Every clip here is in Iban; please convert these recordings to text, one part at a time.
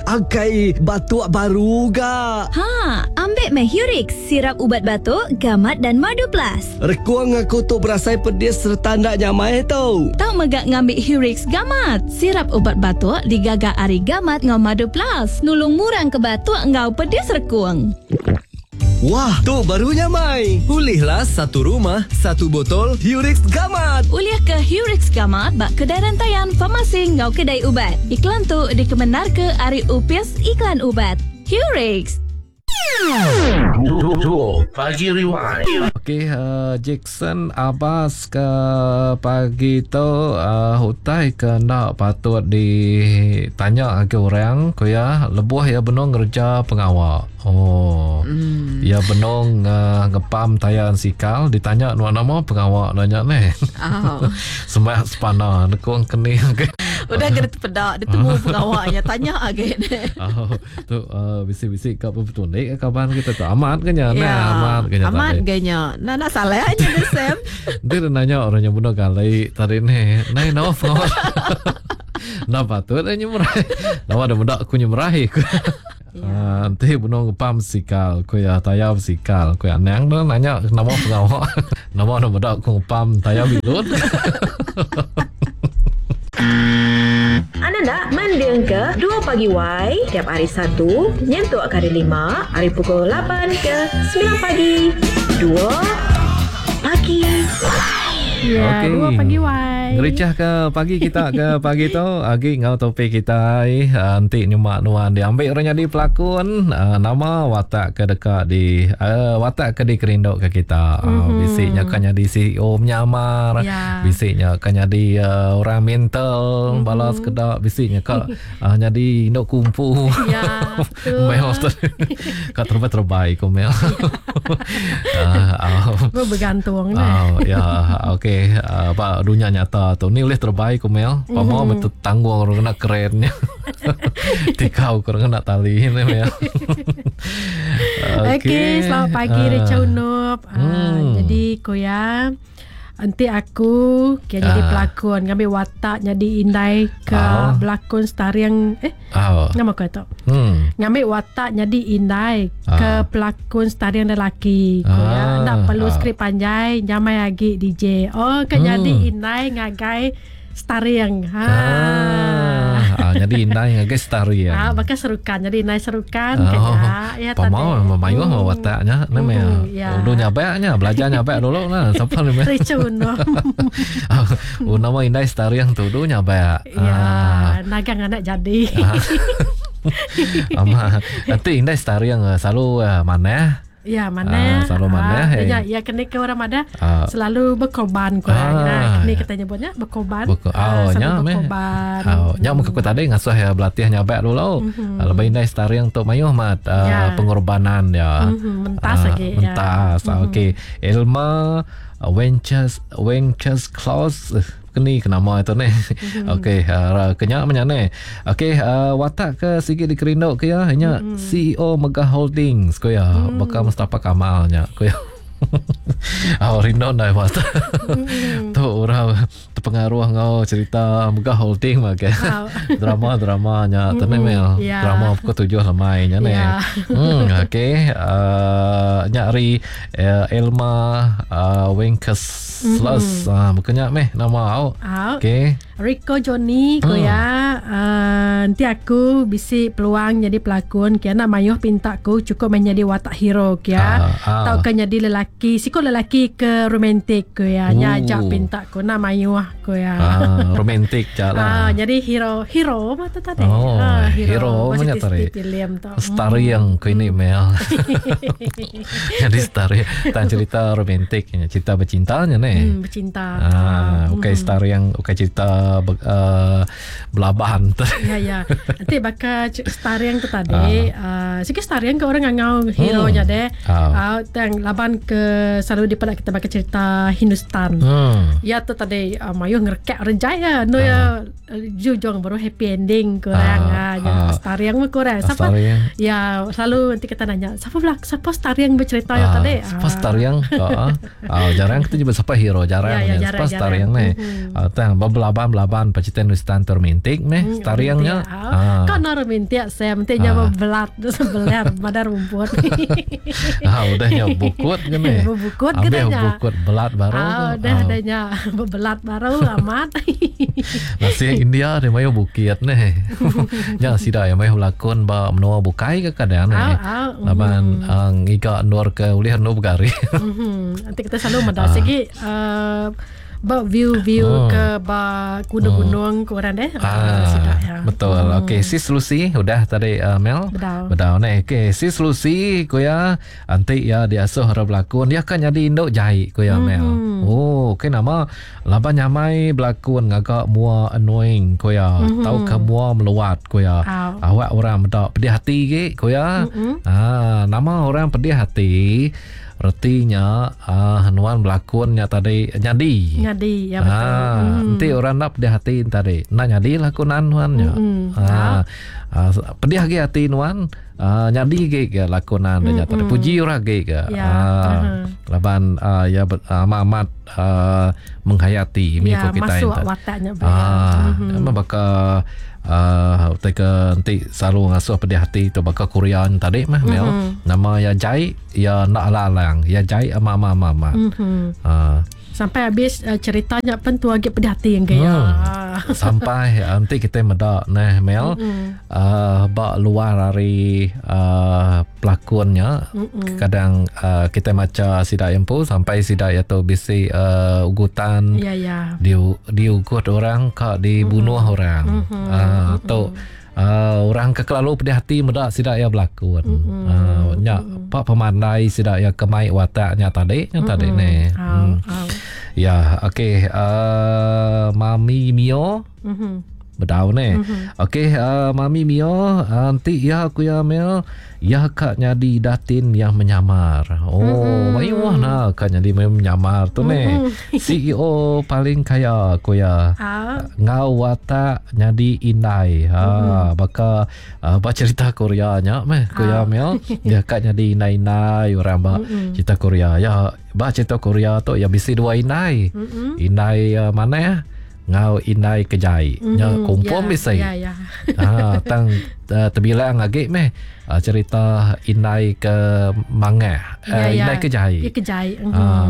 Akai batuk baru ga. Ha, ambik meh Hurix, sirap ubat batuk, gamat dan madu plus. Rekung aku tu berasai pedis sereta enda nyamai tu. Tau mega ngambi Hurix Gamat, sirap ubat batuk digaga ari gamat enggau madu plus, nulung ngurang ke batuk enggau pedis rekung. Wah, tu baru nyamai. Ulihlah satu rumah, satu botol Hurix Gamat. Ulih ke Hurix Gamat ba kedai rentayan, farmasi enggau kedai ubat. Iklan tu dikemendarka ari Opis Iklan Ubat. Hurix. Pagi Rewind. Okey, uh, Jackson Abbas ke pagi tu uh, utai ke enda patut ditanya agi orang ku iya lebuh iya benung ngereja pengawa. Oh. Mm. Iya benung uh, ngepam tayar ensikal ditanya nuan nama pengawa nanya neh. Oh. Semak sepana nekung kening. Udah kena tepeda ditemu pengawa nya tanya agi. Oh, tu uh, bisi-bisi ka betunik kaban kita tu amat ke nya? Ya, Nah, amat ke nya. Amat ke nya. Nah, nak salah nya deh Sam. Dia nanya orang yang bunuh kali tadi ni. Nai nama pengawa. Nah patut dia nyemerai. Nama ada muda aku nyemerai. Ya. Uh, enti benung ngepam sikal ku iya tayar besikal ku iya anang tu nanya nama pengawa nama anu meda ku ngepam tayar bilun. Anda enda mendingka Dua Pagi Wai tiap hari Satu nyentuk ke hari Lima ari pukul lapan ke semilan pagi. Dua Pagi Wai. Ya, Okey. dua pagi wai. Ngerichah ke pagi kita ke pagi tu agi enggau topik kitai ah, enti nyema nuan diambil orang nyadi pelakon ah, nama watak ke deka di ah, watak ke dikerindu ke kita. Mm-hmm. Bisi nya kan nyadi CEO menyamar, Ya. bisi nya kan nyadi ah, orang mental mm-hmm. bala sekeda bisi nya ka ah, nyadi indu kumpu. Ya, betul. Mel tu. Ka terbai-terbai ku Mel. Ah, ah. Bergantung nah. Oh, ya, okey. Uh, ba dunia nyata tu ni ulih terbai ku Mel. Pama mm-hmm. betul tanggung orang kena keren nya. Tikau orang kena tali ni Mel. Okey, okay, selamat pagi uh, Richard Unup. Uh, Hmm. Jadi ku ya Enti aku kira jadi Ah. pelakon ngambil watak jadi indai ke Ah. berlakon starring eh Oh. nama aku tu. Hmm. Ngambil watak jadi indai Ah. ke pelakon starring lelaki. Ku ya, Ah. nak perlu Ah. skrip panjai nyamai agi DJ. Oh, ke Hmm. jadi indai ngagai starring. Ha. Ah, ah jadi indai ngagai starring. Ah, bakal serukan. Jadi indai serukan Oh, kena ya Pamau tadi. mayuh hmm. wataknya ni meh. Hmm, ya. Udah nyabaknya, belajar nyabak dulu nah. Siapa ni meh? Ricun. Oh, nama indai starring tu dulu nyabak. Ya, nagang anak jadi. Ah. Ama nanti indai starring eh, selalu eh, manah. Ya, mana? Ah, selalu mana, Ah, eh. ya, ya kena ke orang ada Ah. selalu berkorban kurang. Ah, Ah, kena ya. kita nyebutnya berkorban. Beko, Ah, oh, selalu nya meh. berkorban. Oh, nya meh aku tadi ngasuh ya berlatih nyabak dulu. Mm-hmm. Lebih indai starring tu mayuh mat uh, Ya. pengorbanan ya. Mhm, mentas Ah, lagi, ya. Mentas. Mm-hmm. Okey. Elma uh, Wenches Wenches Claus eh, keni ke nama itu ni. Mm-hmm. Okey, uh, kenyak macam ni. Okey, uh, watak ke sikit dikerindu ke ya? Nya mm-hmm. CEO Mega Holdings ko ya. Mm. Bakal Mustafa Kamal nya ko ya. Oh, rindu dah watak. Mm. tu orang terpengaruh ngau cerita Mega Holding mah ke. Wow. Drama-dramanya tu ni Mel. Ya. Drama pukul 7 lemai nya ni. Ya. Hmm, okey. Uh, nya hari uh, Elma uh, Wenceslas. Mm-hmm. Uh, bukannya meh nama au. Au. Okey. Rico Johnny ko Hmm. ya uh, nanti aku bisi peluang jadi pelakon kia nak mayuh pinta aku cukup menjadi watak hero kia Ah, ah. tau ke jadi lelaki siko lelaki ke romantik ko ya nya Ooh. ajak pinta ko nak mayuh ko ya Ah, romantik je lah. Ah, jadi hero hero mah tu tadi. Oh, ah, hero Masih punya tadi. Filem tu. Star yang ku ini Mel. Jadi star tan cerita romantik cerita bercintanya ni. Hmm, bercinta. Ah, bukan star yang bukan cerita ber, uh, belaban tu. Ya ya. Nanti bakal star yang tu tadi, ah. uh, sikit star yang ke orang ngangau hero nya deh. Ah. Ah, tang laban ke selalu dipadak kita bakal cerita Hindustan. Hmm. Ya tu tadi uh, mayuh ngerekak rejai ya. No ya jujur baru happy ending kurang Ah, ah. Ya, ah. star yang mah kurang. Siapa? Star yang. Ya selalu nanti kita nanya, siapa belak siapa star yang bercerita ya tadi? Siapa star yang ah, ah, jarang kita jumpa siapa hero jarang Ya, ya, ya, jarang, siapa star jarang. yang ni Mhm. ah, tang belaban-belaban pacitan Hindustan termintik meh star yang nya. nya. Ah. Kau nak minta saya minta nya bebelat sebelah madar rumput. Ah udah nya bukut ke ni. Bukut ke nya. Bukut belat baru. Ah udah dah nya bebelat baru amat. Masih India dia mayu bukit ni. Nya sida yang mayu lakon ba menua bukai ke kadang ni. Laban ngiga nur ke ulih nur begari. Nanti kita selalu meda sigi ba view-view ke ba gunung-gunung ke orang deh. Ah, betul. Okey, sis Lucy udah tadi Mel. Bedau ni. Okey, sis Lucy ku ya anti ya diasuh orang berlakon dia akan jadi induk jai ku ya Mel. Oh, okey nama laban nyamai berlakon ngagak mua annoying ku ya, tau ke mua meluat ku ya. Awak orang meda pedih hati ge ku ya. Ah, nama orang pedih hati retinya nuan berlakonnya tadi nyadi. Nyadi ya betul. Enti orang nak pedih hati tadi, nak nyadi lakonan nuannya. Pedih agi hati nuan, nyadi ge ke lakonan dia tadi. Puji orang ge ke. Laban ya amat-amat menghayati mi ko kita masuk wataknya. Memang baka utai ke enti selalu ngasuh pedih hati tu baka Korean tadi mah Mel. Nama ya jai ya nak alang-alang, ya jai ama-ama. Sampai habis ceritanya pun tu agak pedih hati yang gaya. Sampai nanti kita meda nah Mel ba luar hari pelakonnya kadang kita maca sida empu sampai sida ya tu bisi ugutan. Ya ya. Diugut orang ka dibunuh orang. Tu orang ke kelalu pedih hati meda sida ya berlakon. Nya pak pemandai sida ya kemai wataknya tadi nya tadi ni. Ya, okey Mami Mio. Bedau ni. Okey Mami Mio nanti ya aku ya Mel ya kak nyadi datin yang menyamar. Oh, mayuh nah kak nyadi menyamar tu ni. CEO paling kaya aku ya. Ngau watak nyadi indai. Ha baka ba cerita Korea nya meh aku ya Mel. Ya kak nyadi indai-indai orang ba cerita Korea. Ya ba cerita Korea tu ya bisi dua indai. Indai mana ngau indai kejai. Nya kumpul bisi. Ya ya. Tang terbilang lagi meh cerita indai ke mangah, indai kejai. Ya kejai.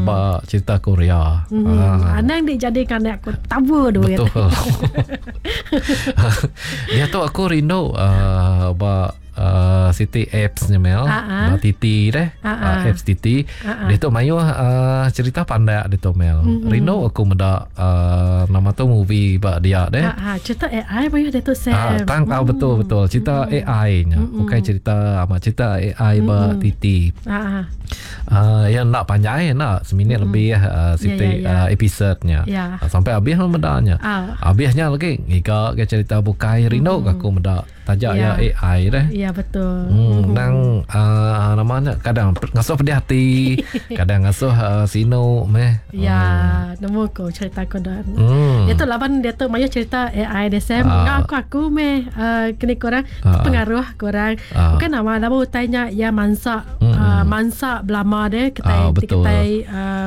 Ba cerita Korea. Anang dijadikan aku tabu duit. Betul. Dia tu aku rindu ba City apps ni Mel. Ba Titi deh. Apps Titi. Dia tu mayuh cerita pandak dia tu Mel. Rindu aku meda nama tu movie ba dia deh. Cerita AI mayuh dia tu Sam. Tang betul betul cerita AI nya. Bukan cerita amat cerita AI ba Titi. Yang nak panjai nak seminit lebih Siti episodenya. Sampai habis medanya. Habisnya lagi ngiga ke cerita bukai rindu aku meda tajak ya AI deh. Ya betul. Nang namanya kadang ngasuh pedih hati, kadang ngasuh sinu meh. Ya, nemu ko cerita ko dah. Dia tu laban dia tu mayu cerita AI dia Sam. Ngau aku meh kini korang pengaruh korang. Bukan nama nama utainya ya mansa mansa belama dia kita kita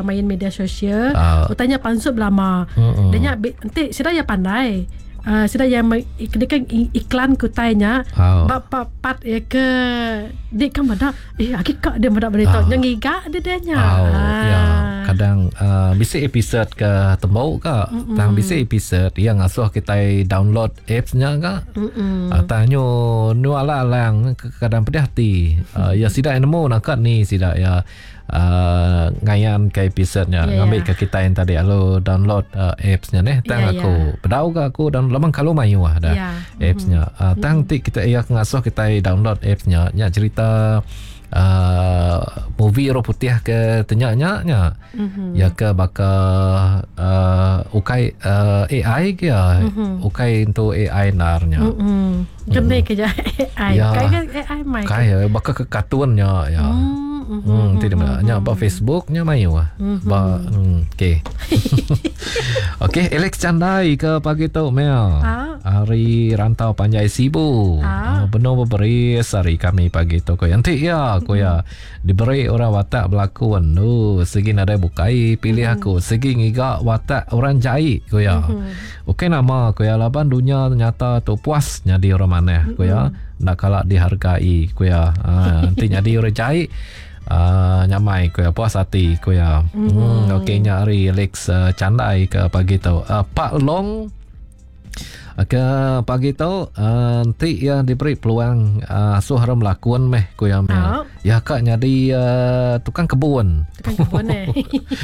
main media sosial. Utainya pansut belama. Dia nya nanti sida ya pandai. Sida yang kan iklan kutainya bab pat ya ke dik kan medak aki kak dia medak berita yang ngiga dia dia nya. Ya kadang bisi episode ke tembok ka tang bisi episode yang ngasuh kita download apps nya ka. Tanyo nu ala-alang kadang pedih hati. Ya sida nemu nak ni sida ya ngayan ke episode-nya ngambil ke kita yang tadi lalu download apps-nya neh tang aku bedau ke aku dan lemang kalau mayu ah dah apps-nya tang ti kita ya ngasuh kita download apps-nya nya cerita movie orang putih ke tanya nya ya ke baka ukai AI ke ya ukai untuk AI narnya kene ke AI kai AI mai kai baka ke kartunnya ya tidak nya ba Facebook nya mayu ah ba okey. Okey Alex Chandai ke pagi tu Mel. Ari Rantau Panjai Sibu. Ah. Benung beberis hari kami pagi tu ko. Enti iya ko iya diberi orang watak belakun. Nu sigi nadai bukai pilih aku sigi ngiga watak orang jai ko iya. Ukai nama ko iya laban dunya nyata tu puas nyadi orang manah ko iya. Enda kala dihargai ko iya. Ha enti nyadi orang jai Uh, nyamai ku iya puas ati ku iya. Mm-hmm. Okey nya hari Alex uh, Chandai ke pagi tu. Uh, Pak Long ke pagi tu uh, enti iya diberi peluang uh, asuh orang melakun meh ku iya meh. Oh. Ya ka nyadi uh, tukang kebun. Tukang kebun eh.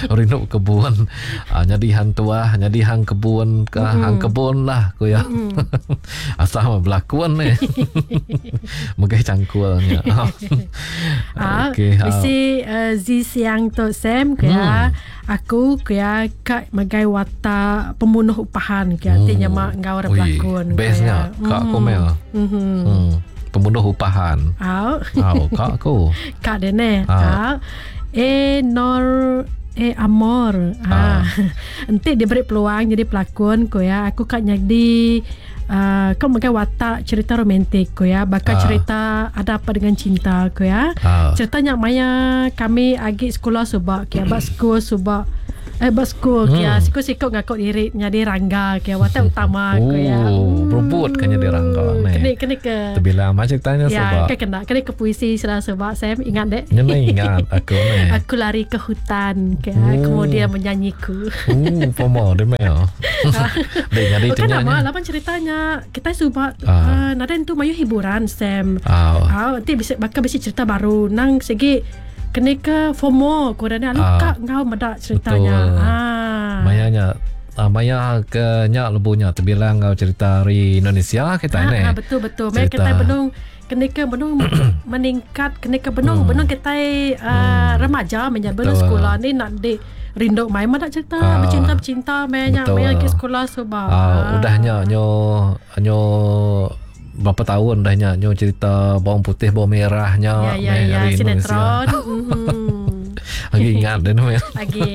Rindu kebun. Uh, nyadi hang tuah, nyadi hang kebun ke mm-hmm. hang kebun lah ku iya. Mm-hmm. Asal berlakon ni. Megai cangkulnya. Ah, okay, bisi uh, Zi Siang tu Sam ke hmm. aku ke ka megai watak pembunuh upahan ke hmm. ti nyama enggau orang pelakon. Bestnya kak aku mel. Hmm. hmm. Pembunuh upahan. Au. Au kak aku. Kak dene. Au. E Nor E Amor. Ha. Enti diberi peluang jadi pelakon ko ya, aku ka nyadi uh, kau megai watak cerita romantik ko ya, baka cerita Ada Apa Dengan Cinta ko ya. Cerita nya maya kami agi sekolah suba ke ba school suba. Eh ba school hmm. kia siku-siku ngaku diri nyadi rangga kia watak utama oh, ko ya. Hmm. Berebut kan jadi rangga ni. Kene kene ke. Terbilang macam ceritanya ya, suba. Ya, kena kene ke puisi sudah suba Sam ingat dek. Nyena ingat aku ni. Aku lari ke hutan ke oh. kemudian menyanyiku. Oh, pomo dia mel. Dek jadi Bukan nama lapan ceritanya kita suba uh, nada tu mayu hiburan Sam. Ah, nanti bisa bakal bisa cerita baru nang segi kena ke FOMO korang ni luka ngau medak ceritanya. Ah. Mayanya maya ke nyak lebunya terbilang ngau cerita hari Indonesia kita ni. Ah, betul betul. Maya kita benung kena ke benung meningkat kena ke benung benung kita uh, remaja menya benung sekolah ni nak di rindu mai medak cerita bercinta bercinta maya maya ke sekolah sebab. Udahnya nyo nyo berapa tahun dah nya nyo cerita bawang putih bawang merahnya ya, ya, ya, hari sinetron. Lagi ingat dah ni. Lagi.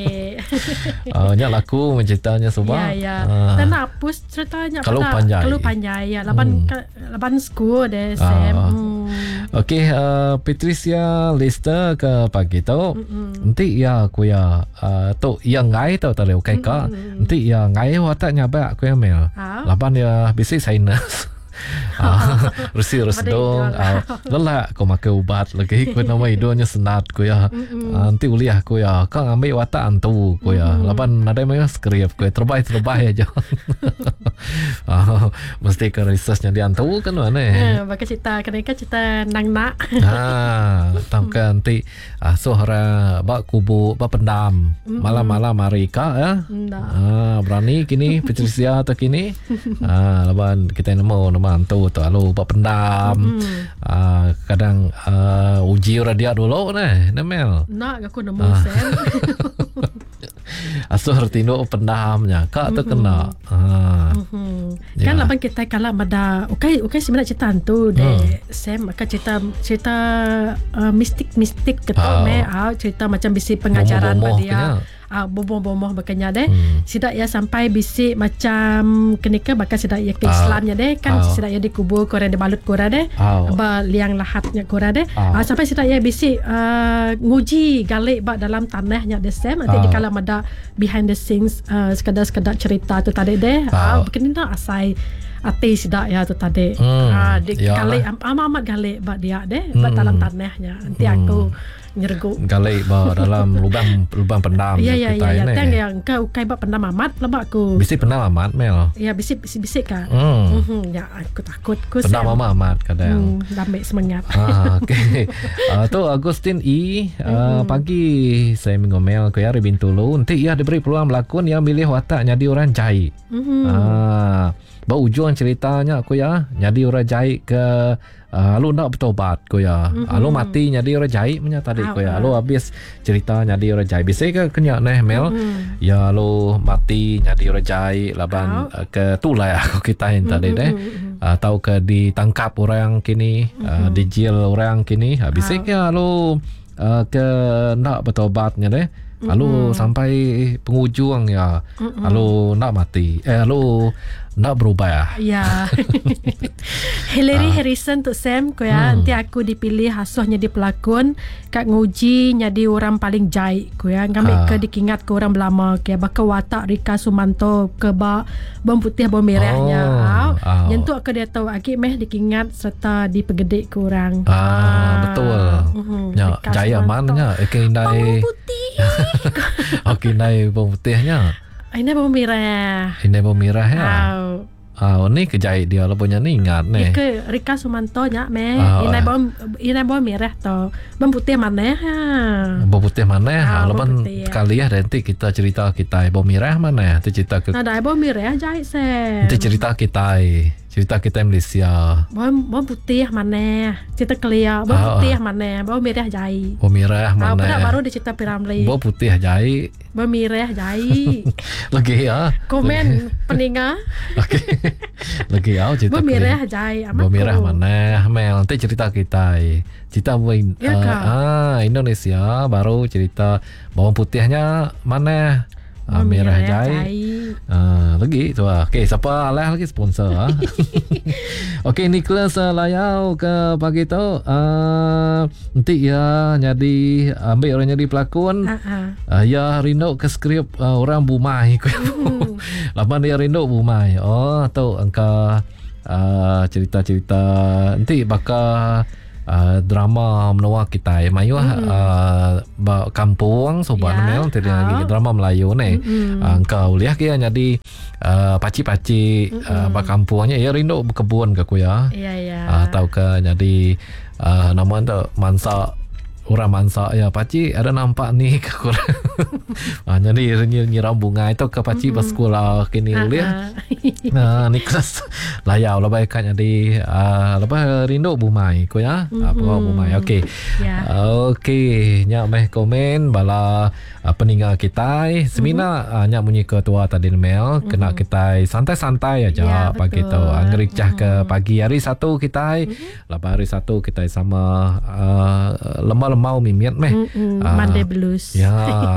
Nya laku menceritanya sebab. Ya ya. Dan nak hapus ceritanya kalau panjai. Kalau panjai ya laban laban school deh Sam. Okey Patricia Lister ke pagi tu. Nanti ya aku ya tu yang ngai tu tadi okey ka. Nanti ya ngai watak nyabak aku ya mel. Laban ya bisi sinus. Resi resedong lelak kau makan ubat lagi kau nama hidungnya senat kau ya nanti uliah kau ya kau ambil watak antu kau ya laban nadai mayo skrip kau terbaik terbaik aja. Mesti ke researchnya di antu kan mana eh baka cerita kena kan cerita nang nak ha tang kan nanti suara bak kubu bak pendam malam-malam hari ka ya berani kini Patricia atau kini laban kita nemu nama antu tu lalu buat pendam. Kadang uji orang dia dulu neh Nemel. Nak aku nemu Sam. Asuh tinduk pendamnya kak tu kena. Kan laban kita kalau ada okey okey sebenarnya cerita hantu deh Sam akan cerita cerita mistik-mistik ketok me cerita macam bisi pengajaran pada dia. Bomoh-bomoh berkenya deh. Sidak ya sampai bisik macam kenika bakal sidak ya ke Islamnya deh kan sidak ya dikubur korang dibalut korang deh. Ba liang lahatnya korang deh. Sampai sidak ya bisik nguji galik ba dalam tanahnya deh Sam. Nanti dikala mada behind the scenes sekadar-sekadar cerita tu tadi deh. Berkena nak asai ati sidak ya tu tadi. Di galik amat galik ba dia deh ba dalam tanahnya. Nanti aku nyergu galik ba dalam lubang lubang pendam ya ya ya ya tang yang kau kai ba pendam amat lebak aku bisi pendam amat mel ya bisi bisi bisi ka ya aku takut ku pendam amat amat kadang lambek semangat. Okey tu Agustin E pagi saya mengomel ke hari Bintulu nanti ia diberi peluang berlakon yang milih watak jadi orang jahit. Ba ujung ceritanya aku ya jadi orang jahit ke lalu nak bertobat ko ya. Lalu mati jadi orang jahit punya tadi ko ya. Lalu habis cerita jadi orang jahit. Bisa ke kena neh Mel? Ya lalu mati jadi orang jahit laban ke tulai aku kita yang tadi deh. Atau ke ditangkap orang kini, dijil orang kini. Bisa ke lalu ke nak bertobatnya deh. Lalu sampai penghujung ya. Lalu nak mati. Lalu Enda berubah. Ya. Hillary Harrison tu Sam ku ya enti aku dipilih asuh nyadi pelakon ka nguji nyadi orang paling jai ku ya ngambi ke dikingat ke orang belama ke baka watak Rika Sumanto ke ba bom putih bom merah nya. Oh, Au. au. Nyentuk ke diatu agi meh dikingat sereta dipegedi ke orang. Ah, betul. Mhm, Nya Rika jai aman Sumanto. nya okey indai. Bawang putih. Okey indai bawang putih nya. Ini bawang merah. Indai bawang merah ya. Au. Ah, ni kejai dia lepas nya ni ingat ni. Ni ke Rika Sumanto nya meh. Ah, Inai bawang inai bawang merah tu. Bawang putih mana ha. Bawang putih mana ha, Ah, bawang laban putih. kali ya nanti kita cerita kita bawang merah mana nanti cerita ke Nah, dah bawang merah jahit Sam. nanti cerita kita cerita kita Malaysia. Bawang bawang putih mana? Cerita kelia. Bawang Ah, putih mana? Bawang merah jahit. Bawang merah Ah, mana? budak baru dia cerita Piramli. Bawang putih jahit. Bawang merah jahit. Lagi ya. Komen peninga. Okey. Lagi ya cerita. Bawang merah jahit. Amat Bawang merah ku. mana? Mel nanti cerita kita. Cerita buat Ya kah? ah Indonesia baru cerita bawang putihnya mana? Ah, Bawang merah jahit. jahit. Ah, lagi tu ah. Okey, siapa alah lagi sponsor ah. Okey, Nicholas Layau ke pagi tu ah nanti ya jadi ambil orang jadi pelakon. Ah, ah. Ya rindu ke skrip orang bumai ku. Lapan dia rindu bumai. Oh, tu angka cerita-cerita nanti bakal drama menua kita mayuh ba kampung sobat Ya. memang tidak lagi Ah. drama Melayu ni. Engkau lihat kia jadi pakcik-pakcik ba kampungnya ya rindu berkebun ke ku ya. Ya, ya. Atau ke jadi nama tu mansa orang mansa ya pakcik ada nampak ni ke kurang. Jadi nyiram bunga itu ke pakcik bersekolah kini Ah, boleh. ah. Nah, Nicholas layau lah baik kan jadi lepas rindu bumai ko ya. Mm-hmm. Pengau bumai. Okey. Ya. Okey, nyak meh komen bala peninggal kita. Semina mm-hmm. nyak munyi ketua tadi Mel, mm-hmm. kena kita santai-santai aja Ya, pagi tu. betul. Ngericah mm-hmm. ke pagi hari Satu kita. Mm-hmm. Lepas hari Satu kita sama lemah-lemau mimiat meh. Mm-mm, Ah, Monday Blues. Ya,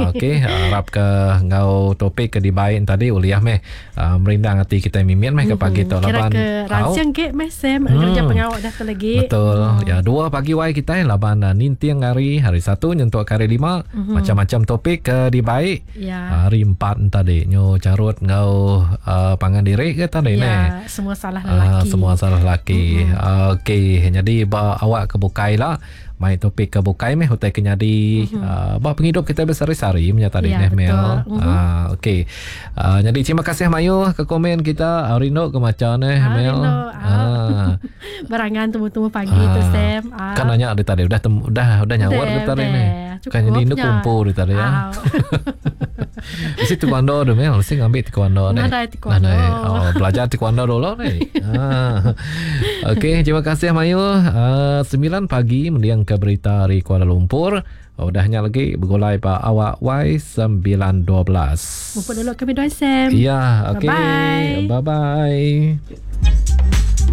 okey. Harap ke ngau topik ke dibain tadi uliah meh merindang hati kita mimian meh ke pagi tu Kira laban. ke rancang ke meh Sam kerja pengawak dah tu lagi. Betul. Ya, dua pagi wai kita laban ninting hari hari Satu nyentuk ke hari lima macam-macam topik ke dibaik. Ya. Hari empat tadi nyo carut ngau pangan diri ke tadi ne. Ya, semua salah Ah, lelaki. semua salah lelaki. Mm-hmm. Okey, jadi ba awak ke bukai lah. Mai topik ke bukai meh utai ke nyadi ba penghidup kita bersari-sari punya tadi Ya, neh Mel. betul. Mhm. Ah, okey. Jadi terima kasih Mayu ke komen kita. Rindu ke macam neh Ah, Mel. rindu. Ah. Berangan temu-temu pagi tu Sam. Ah. Kan nanya dia tadi udah tem, udah udah nyawar Udah, dia tadi udah. ni. Kan jadi Cukup indu nya. kumpul dia tadi ya. Ah. Mesti taekwondo tu Mel, mesti ngambil taekwondo ni. Nadai taekwondo. Nadai. Oh, belajar taekwondo dulu ni. ah. Okey, terima kasih Mayu. 9 pagi mendiang ke berita dari Kuala Lumpur. Udahnya lagi bergulai pak awak Y 912. Mumpuk dulu kami doa Sam. Ya, okey. Bye-bye. Bye-bye.